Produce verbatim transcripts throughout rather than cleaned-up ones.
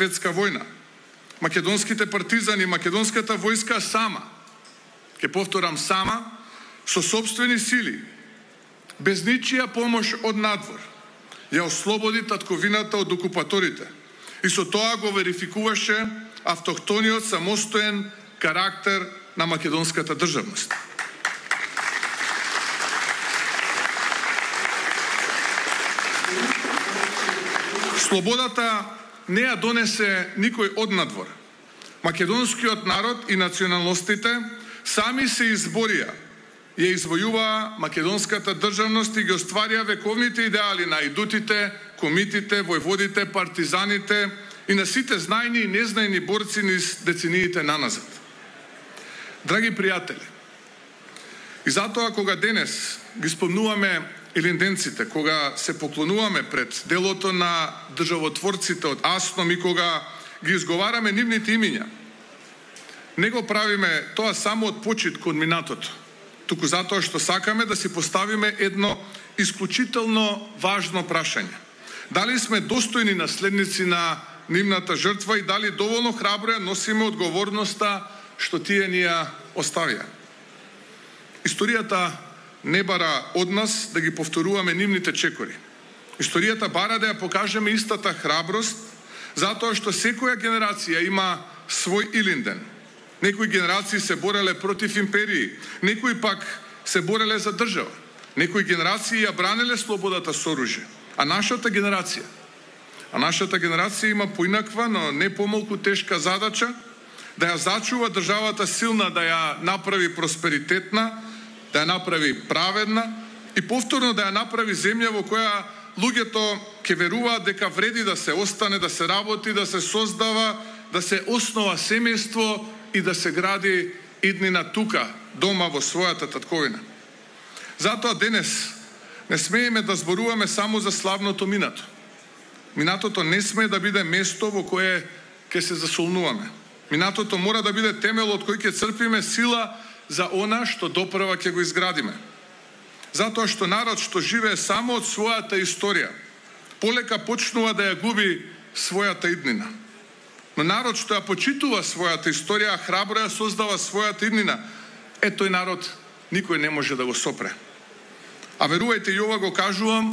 светска војна. Македонските партизани, македонската војска сама, ке повторам сама, со собствени сили, без ничија помош од надвор, ја ослободи татковината од окупаторите и со тоа го верификуваше автохтониот самостоен карактер на македонската државност. Слободата не ја донесе никој однадвор. Македонскиот народ и националностите сами се изборија, ја извојуваа македонската државност и ги остварија вековните идеали на идутите, комитите, војводите, партизаните и на сите знајни и незнајни борци низ децениите наназад. Драги пријатели, и затоа кога денес ги спомнуваме илинденците, кога се поклонуваме пред делото на државотворците од Асном и кога ги изговараме нивните имиња, не го правиме тоа само од почит кон минатото, туку затоа што сакаме да си поставиме едно исклучително важно прашање. Дали сме достојни наследници на нивната жртва и дали доволно храбро ја носиме одговорноста што тие ни ја оставија. Историјата не бара од нас да ги повторуваме нивните чекори. Историјата бара да ја покажеме истата храброст, затоа што секоја генерација има свој Илинден. Некои генерации се бореле против империи, некои пак се бореле за држава. Некои генерации ја бранеле слободата со оружје. А нашата генерација, а нашата генерација има поинаква, но не помалку тешка задача да ја зачува државата силна, да ја направи просперитетна, да ја направи праведна и повторно да ја направи земја во која луѓето ќе веруваат дека вреди да се остане, да се работи, да се создава, да се основа семејство и да се гради иднина тука, дома во својата татковина. Затоа денес не смееме да зборуваме само за славното минато. Минатото не смее да биде место во кое ќе се засолнуваме. Минатото мора да биде темел од кој ќе црпиме сила за она што допрва ќе го изградиме. Затоа што народ што живее само од својата историја, полека почнува да ја губи својата иднина. Но народ што ја почитува својата историја, храбро ја создава својата иднина, е тој народ никој не може да го сопре. А верувајте, и ова го кажувам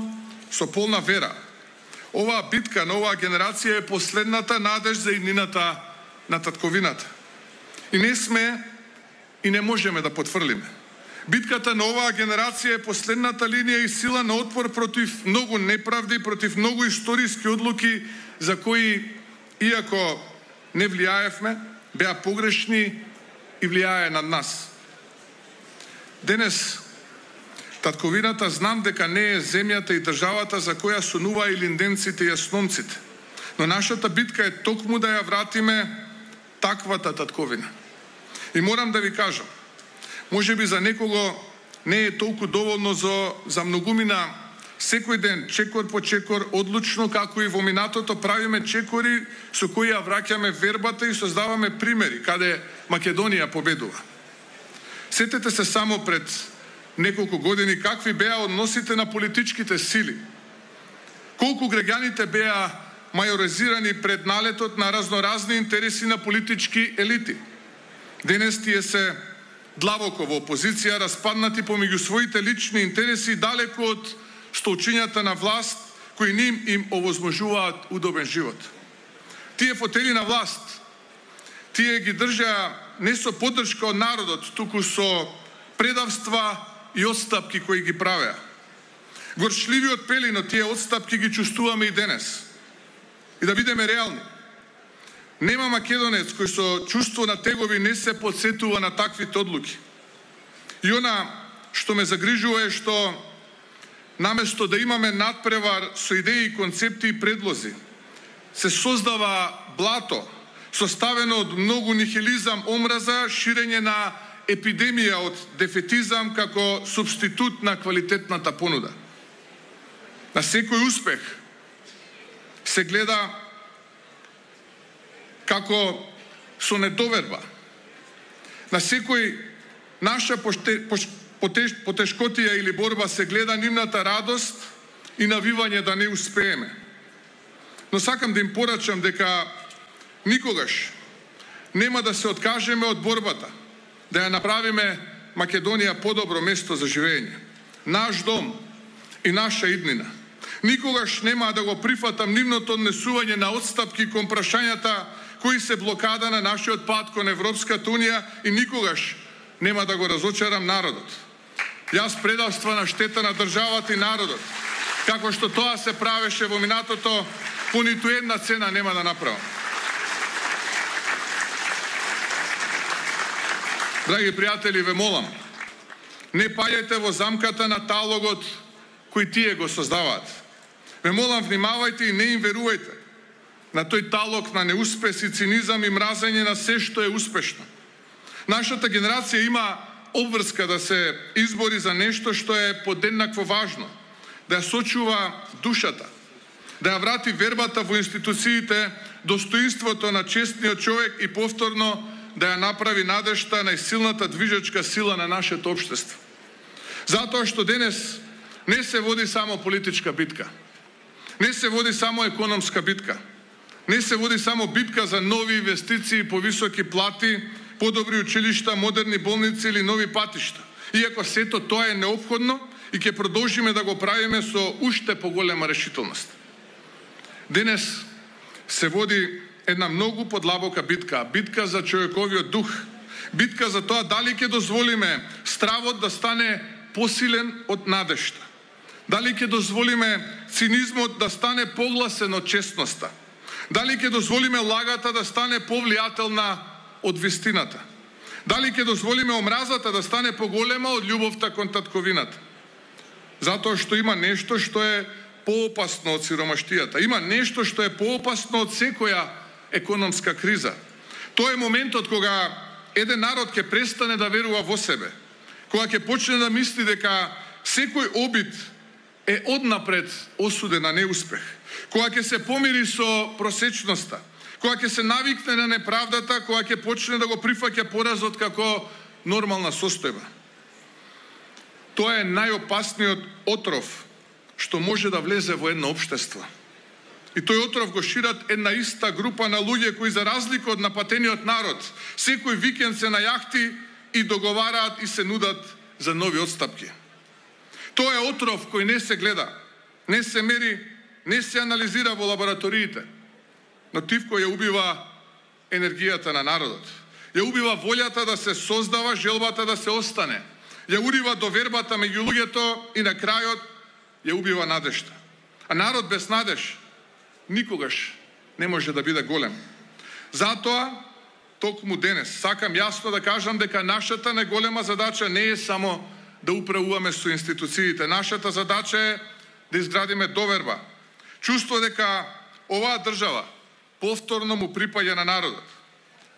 со полна вера. Оваа битка на оваа генерација е последната надеж за иднината на татковината. И не сме и не можеме да потврлиме. Битката на оваа генерација е последната линија и сила на отпор против многу неправди, против многу историски одлуки за кои, иако не влијаевме, беа погрешни и влијае над нас. Денес татковината знам дека не е земјата и државата за која сонуваа илинденците и асномците, но нашата битка е токму да ја вратиме таквата татковина. И морам да ви кажам, може би за некого не е толку доволно за, за многумина секој ден, чекор по чекор, одлучно како и во минатото правиме чекори со кои ја враќаме вербата и создаваме примери каде Македонија победува. Сетете се само пред неколку години какви беа односите на политичките сили. Колку граѓаните беа мајоризирани пред налетот на разноразни интереси на политички елити. Денес тие се длабоко во опозиција, распаднати помеѓу своите лични интереси, далеку од столчињата на власт, кои ним им овозможуваат удобен живот. Тие фотели на власт, тие ги држаа не со поддршка од народот, туку со предавства и отстапки кои ги правеа. Горчливиот пелин од тие отстапки ги чувствуваме и денес. И да бидеме реални. Нема македонец кој со чувство на тегови не се подсетува на таквите одлуки. И она што ме загрижува е што наместо да имаме надпревар со идеи, концепти и предлози, се создава блато, составено од многу нихилизам, омраза, ширење на епидемија од дефетизам како субститут на квалитетната понуда. На секој успех се гледа како со недоверба. На секој наша потешкотија или борба се гледа нивната радост и навивање да не успееме. Но сакам да им порачам дека Никогаш нема да се откажеме од борбата да ја направиме Македонија подобро место за живење, наш дом и наша иднина. Никогаш нема да го прифатам нивното однесување на отстапки кон прашањата кои се блокада на нашиот пат кон Европската Унија и никогаш нема да го разочарам народот. Јас предавства на штета на државата и народот, како што тоа се правеше во минатото, по ниту една цена нема да направам. Драги пријатели, ве молам, не паѓајте во замката на талогот кој тие го создаваат. Ве молам, внимавајте и не им верувајте на тој талог на неуспес и цинизам и мразење на се што е успешно. Нашата генерација има обврска да се избори за нешто што е подеднакво важно, да ја сочува душата, да ја врати вербата во институциите, достоинството на честниот човек и повторно да ја направи надежта најсилната движечка сила на нашето општество. Затоа што денес не се води само политичка битка, не се води само економска битка, не се води само битка за нови инвестиции, повисоки плати, подобри училишта, модерни болници или нови патишта. Иако сето тоа е неопходно и ќе продолжиме да го правиме со уште поголема решителност. Денес се води една многу подлабока битка, битка за човековиот дух, битка за тоа дали ќе дозволиме стравот да стане посилен од надежта, дали ќе дозволиме цинизмот да стане погласен од честноста, дали ќе дозволиме лагата да стане повлијателна од вистината, дали ќе дозволиме омразата да стане поголема од љубовта кон татковината. Затоа што има нешто што е поопасно од сиромаштијата, има нешто што е поопасно од секоја економска криза. Тоа е моментот кога еден народ ќе престане да верува во себе, кога ќе почне да мисли дека секој обид е однапред осуден на неуспех, кога ќе се помири со просечноста, кога ќе се навикне на неправдата, кога ќе почне да го прифаќа поразот како нормална состојба. Тоа е најопасниот отров што може да влезе во едно општество. И тој отров го шират една иста група на луѓе кои за разлика од напатениот народ, секој викенд се на јахти и договараат и се нудат за нови отстапки. Тоа е отров кој не се гледа, не се мери, не се анализира во лабораториите, но тивко ја убива енергијата на народот. Ја убива волјата да се создава, желбата да се остане. Ја урива довербата меѓу луѓето и на крајот ја убива надежта. А народ без надеж никогаш не може да биде голем. Затоа, токму денес, сакам јасно да кажам дека нашата најголема задача не е само да управуваме со институциите. Нашата задача е да изградиме доверба. Чувство дека оваа држава повторно му припаѓа на народот.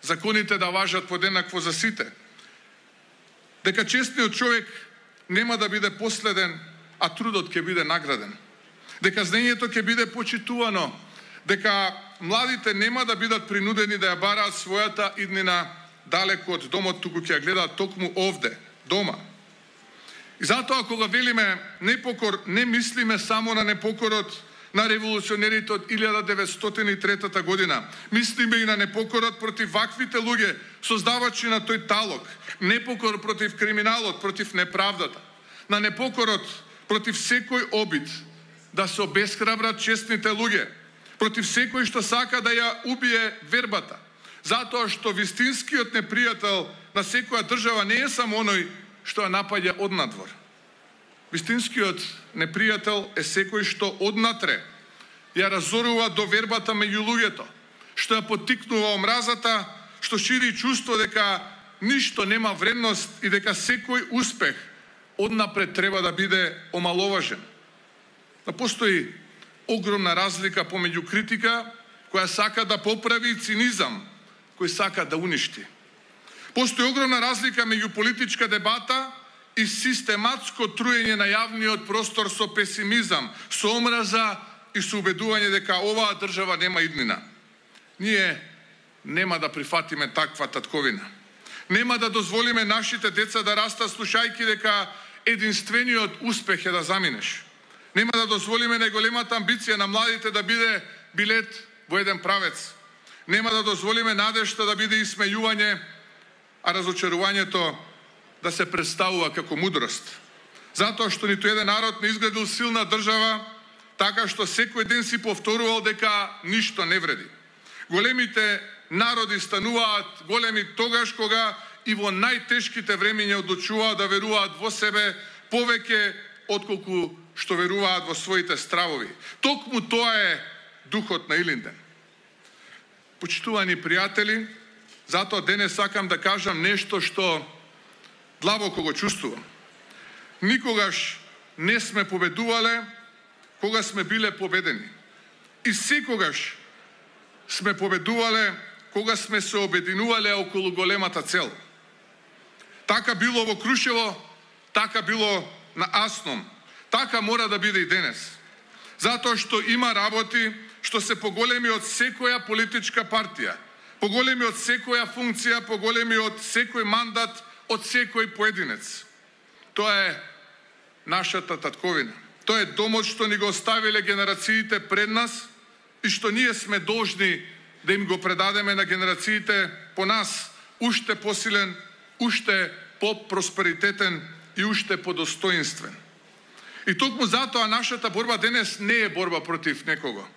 Законите да важат подеднакво за сите. Дека честниот човек нема да биде последен, а трудот ќе биде награден. Дека знаењето ќе биде почитувано, дека младите нема да бидат принудени да ја бараат својата иднина далеко од домот, туку ќе ја гледаат токму овде, дома. И затоа кога велиме непокор, не мислиме само на непокорот на револуционерите од илјада деветстотини и трета година. Мислиме и на непокорот против ваквите луѓе, создавачи на тој талог, непокор против криминалот, против неправдата, на непокорот против секој обид да се обесхрабрат честните луѓе, против секој што сака да ја убие вербата, затоа што вистинскиот непријател на секоја држава не е само оној што ја напаѓа однадвор. Вистинскиот непријател е секој што однатре ја разорува довербата меѓу луѓето, што ја поттикнува омразата, што шири чувство дека ништо нема вредност и дека секој успех однапред треба да биде омаловажен. Да постои огромна разлика помеѓу критика која сака да поправи и цинизам кој сака да уништи. Постои огромна разлика меѓу политичка дебата и систематско труење на јавниот простор со песимизам, со омраза и со убедување дека оваа држава нема иднина. Ние нема да прифатиме таква татковина. Нема да дозволиме нашите деца да растат слушајки дека единствениот успех е да заминеш. Нема да дозволиме најголемата амбиција на младите да биде билет во еден правец. Нема да дозволиме надежта да биде исмејување, а разочарувањето да се представува како мудрост. Затоа што ниту еден народ не изградил силна држава, така што секој ден си повторувал дека ништо не вреди. Големите народи стануваат големи тогаш кога и во најтешките времиња одлучуваат да веруваат во себе повеќе отколку што веруваат во своите стравови. Токму тоа е духот на Илинден. Почитувани пријатели, затоа денес сакам да кажам нешто што длабоко го чувствувам. Никогаш не сме победувале кога сме биле победени. И секогаш сме победувале кога сме се обединувале околу големата цел. Така било во Крушево, така било на Асном. Така мора да биде и денес. Затоа што има работи што се поголеми од секоја политичка партија, поголеми од секоја функција, поголеми од секој мандат, од секој поединец. Тоа е нашата татковина. Тоа е домот што ни го оставиле генерациите пред нас и што ние сме должни да им го предадеме на генерациите по нас, уште посилен, уште по-просперитетен и уште подостоинствен. И токму затоа нашата борба денес не е борба против некого.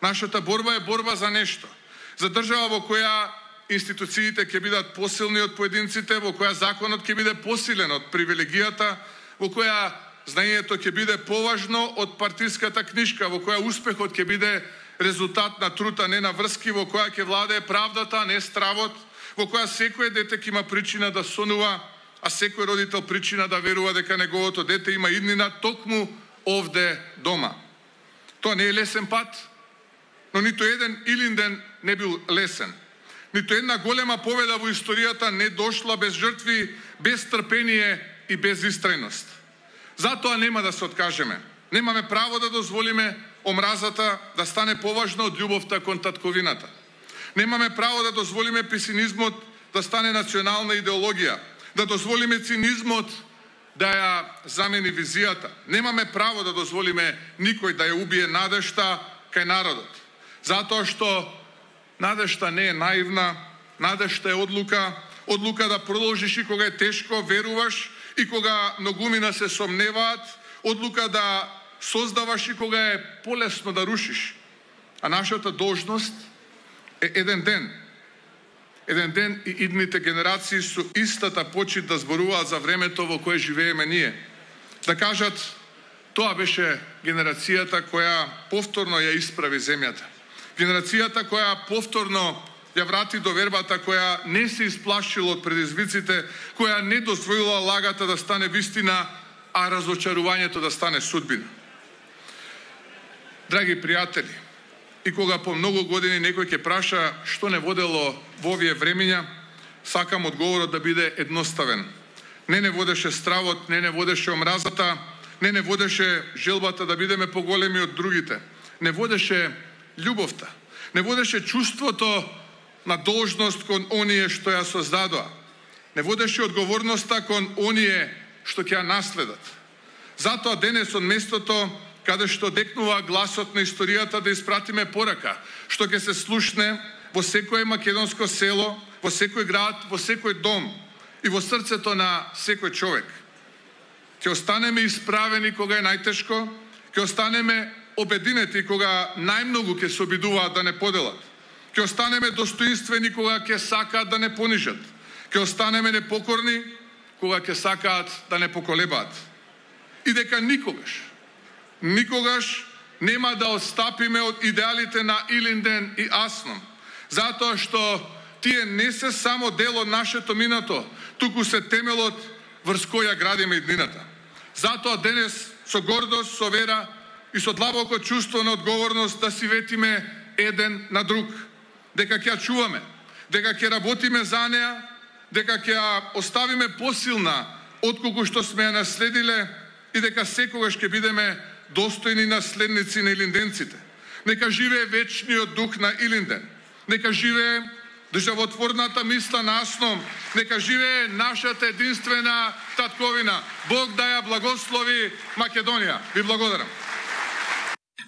Нашата борба е борба за нешто. За држава во која институциите ќе бидат посилни од поединците, во која законот ќе биде посилен од привилегијата, во која знаењето ќе биде поважно од партиската книжка, во која успехот ќе биде резултат на труд, а не на врски, во која ќе владее правдата, а не стравот, во која секој дете ќе има причина да сонува, а секој родител причина да верува дека неговото дете има иднина токму овде дома. Тоа не е лесен пат, но ниту еден Илинден не бил лесен. Ниту една голема победа во историјата не дошла без жртви, без трпение и без истрајност. Затоа нема да се откажеме. Немаме право да дозволиме омразата да стане поважна од љубовта кон татковината. Немаме право да дозволиме песимизмот да стане национална идеологија, да дозволиме цинизмот да ја замени визијата. Немаме право да дозволиме никој да ја убие надежта кај народот. Затоа што надежта не е наивна, надежта е одлука, одлука да продолжиш и кога е тешко, веруваш и кога многумина се сомневаат, одлука да создаваш и кога е полесно да рушиш. А нашата должност е еден ден. Еден ден и идните генерации со истата почит да зборуваат за времето во кое живееме ние. Да кажат, тоа беше генерацијата која повторно ја исправи земјата. Генерацијата која повторно ја врати до вербата, која не се исплашила од предизвиците, која не дозволила лагата да стане вистина, а разочарувањето да стане судбина. Драги пријатели, и кога по многу години некој ќе праша што не водело во овие времиња, сакам одговорот да биде едноставен. Не не водеше стравот, не не водеше омразата, не не водеше желбата да бидеме поголеми од другите. Не водеше љубовта. Не водеше чувството на должност кон оние што ја создадоа. Не водеше одговорноста кон оние што ќе ја наследат. Затоа денес од местото каде што декнува гласот на историјата да испратиме порака, што ќе се слушне во секое македонско село, во секој град, во секој дом и во срцето на секој човек. Ќе останеме исправени кога е најтешко, ќе останеме обединети кога најмногу ќе се обидуваат да не поделат. Ќе останеме достоинствени кога ќе сакаат да не понижат. Ќе останеме непокорни кога ќе сакаат да не поколебаат. И дека никогаш, никогаш нема да отстапиме од идеалите на Илинден и Асном, затоа што тие не се само дел од нашето минато, туку се темелот врз која градиме иднината. Затоа денес со гордост, со вера и со длабоко чувство на одговорност да си ветиме еден на друг, дека ќе ја чуваме, дека ќе работиме за неа, дека ќе ја оставиме посилна отколку што сме ја наследиле и дека секогаш ќе бидеме достојни наследници на илинденците. Нека живее вечниот дух на Илинден. Нека живее државотворната мисла на Асном. Нека живее нашата единствена татковина. Бог да ја благослови Македонија. Ви благодарам.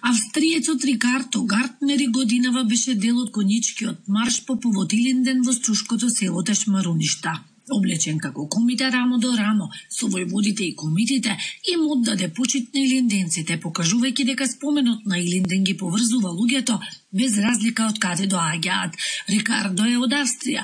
Австриецот Рикардо Гартнери годинава беше дел од конјичкиот марш по повод Илинден во струшкото село Тешмаруништа. Облечен како комите рамо до рамо со војводите и комитите, им оддаде почит на илинденците, покажувајќи дека споменот на Илинден ги поврзува луѓето без разлика од каде доаѓаат. Рикардо е од Австрија,